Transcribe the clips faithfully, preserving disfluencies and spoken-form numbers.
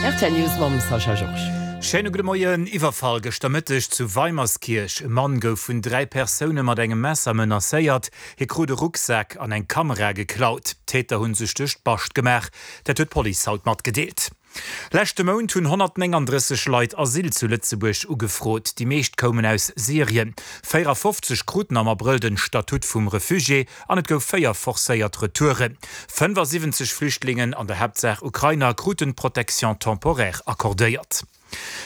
R T L News mam Sascha Georges. Schéine gudde Moien. Iwwerfall gëschter Mëtteg zu Weimerskirch. E Mann gouf vun dräi Persoune mat engem Messer menacéiert. Hie krut e Rucksak an eng Kamera geklaut. D'Täter hu sech duerch d'Bascht gemaach. Dat huet d'Police haut matgedeelt. Leschte Mount hunn honnertnénganddrësseg Leit Asyl zu Lëtzebuerg ugefrot. Déi meescht koumen aus Syrien. véierafofzeg kruten am Abrëll den Statut vum Refugié an et gouf véier forcéiert Retouren. fënnfasiwwenzeg Flüchtlingen, an der Haaptsaach Ukrainer, kruten d'Protection temporaire accordéiert.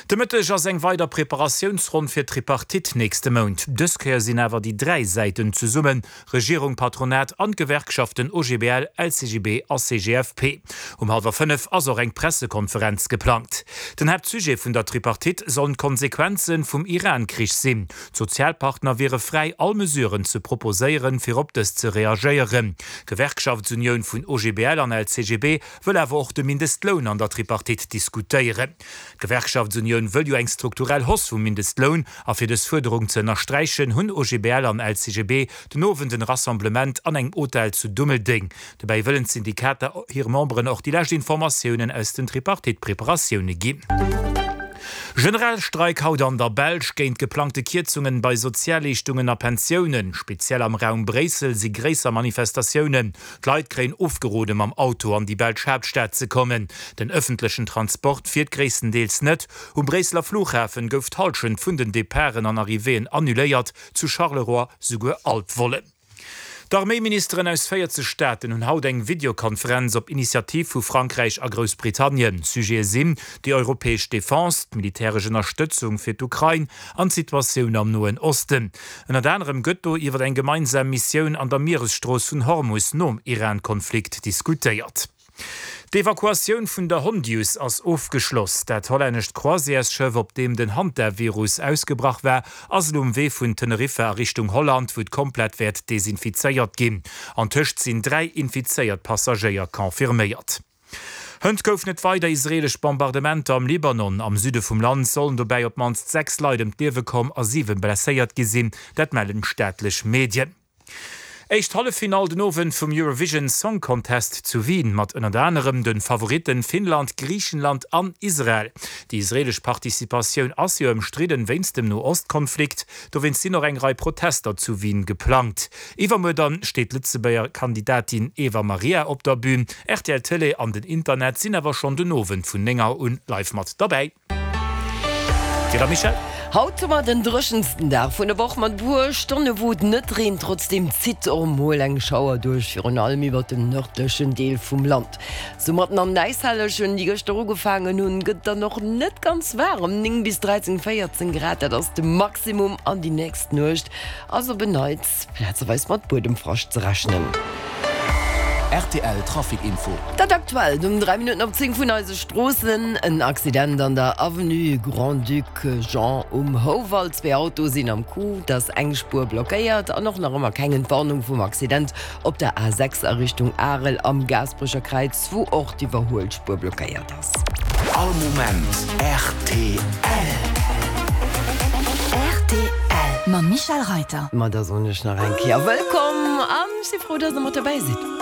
De Mëtteg ass eng weider Preparatiounsronn fir d'Tripartite nächste Mount. Dës Kéier sinn awer déi dräi Säiten zesummen, Regierung, Patronat an d'Gewerkschaften O G B L, L C G B a C G F P. Um hallwer fënnef ass och eng Pressekonferenz geplangt. Den Haaptsujet vun der Tripartite sollen d'Konsequenze vum Iran-Krich sinn. D'Sozialpartner wiere fräi, all Mesuren ze proposéieren, fir op dës ze reagéieren. D'Gewerkschaftsunioun vun O G B L an L C G B wëll awer och de Mindestloun an der Tripartite diskutéieren. D'Gewerkschaftsunioun wëll jo eng strukturell Hausse vum Mindestloun a fir dës Fuerderung ze ënnersträichen, hunn O G B L an L C G B den Owend en Rassemblement an engem Hotel zu Dummeldeng. Dobäi wëllen d'Syndikater hire Memberen och déi lescht Informatiounen aus den Tripartite-Preparatioune ginn. Generalstreik haut an der Belsch géint geplangte Kierzungen bei Sozialleeschtungen a Pensiounen. Speziell am Raum Bréissel si gréisser Manifestatiounen. D'Leit kréien ofgerode mam Auto an déi belsch Haaptstad ze kommen. Den ëffentlechen Transport fiert gréisstendeels net. Um Bréisseler Flughafen gouf d'Hallschent vun den Departen an Arrivéeën annuléiert, zu Charleroi souguer all d'Vollen. D'Arméiministeren aus véierzeg Staaten hunn haut eng Videokonferenz op Initiativ vu Frankräich a Groussbritannien. Sujete sinn déi europäesch Defense, d'militäresch Ënnerstëtzung fir d'Ukrain an d'Situatioun am Noen Osten. Ënnert anerem gëtt do iwwer eng gemeinsam Missioun an der Mieresstrooss vun Hormus nom Iran-Konflikt diskutéiert. D'Evakuatioun vun der Hondius ass ofgeschloss. Dat hollännescht Croisièresschëff, op deem den Hantavirus ausgebrach war, ass elo um Wee vun Teneriffa a Richtung Holland, wou et komplett wäert desinfizéiert ginn. Antëscht sinn dräi infizéiert Passagéier confirméiert. Hënt goufen et weider israeelesch Bombardementer am Libanon. Am Süde vum Land sollen dobäi op d'mannst sechs Leit ëm d'Liewe komm a siwe blesséiert gi sinn, dat mellen staatlech Medien. Éischt Halleffinall den Owend vum Eurovision Song Contest zu Wien mat ënnert anerem de Favoritten Finnland, Griichenland an Israel. Déi israeelesch Participatioun ass jo ëmstridden wéinst dem No-Ost-Konflikt, dowéinst sinn och eng Rei Protester zu Wien geplangt. Iwwermuer dann steet d'Lëtzebuerger Kandidatin Eva Maria op der Bün. R T L Tëlee an den Internet sinn awer schonn den Owend vun néng Auer un live mat derbäi. Dir Michèle? Haut hu mer den dréchensten Dag vun der Woch mat puer Stonne wou et net reent, trotzdeem zitt och mol eng Schauer duerch, virun allem iwwer dem nërdlechen Deel vum Land. Soumat an Äishellegen, déi gëschter ugefaangen hunn, gëtt dann och net ganz waarem, néng bis dräizéng, véierzéng Grad, dat ass de Maximum an déi nächst Nuecht ass op en Neits plazeweis mat Buedemfrascht ze rechnen. R T L Trafic Info. Dat Aktuellt um dräi Minutten op zéng vun eise Stroossen, En Accident an der Avenue Grand-Duc Jean um Houwald. Zwee Autoe sinn am Coup, et ass eng Spuer blockéiert an och nach ëmmer keng Entwarnung vum Accident op der A sechs a Richtung Arel am Gaasperecher Kräiz, wou och d'Iwwerhuelspuer blockéiert ass. All Moment R T L. R T L mam Michèle Reiter. Ma da soen ech nach eng Kéier Wëllkomm an ech si frou, dass der mat dobäi sidd.